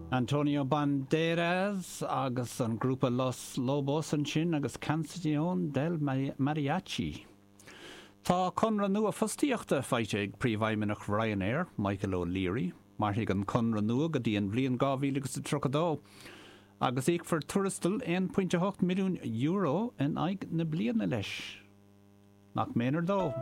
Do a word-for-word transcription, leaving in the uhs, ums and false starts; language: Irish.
Antonio Banderas agus an grúpa Los Lobos ansin agus Canción del Mariachi. Tá conradh nua fostaíochta faighte ag Príomhfheidhmeannach Ryanair, Michael O'Leary, mairfidh an conradh nua go dtí an bhliain dhá mhíle agus a tríocha dó, agus íocfar tuarastal aon pointe a hocht milliún euro in aghaidh na bliana leis. Nach méanar dó.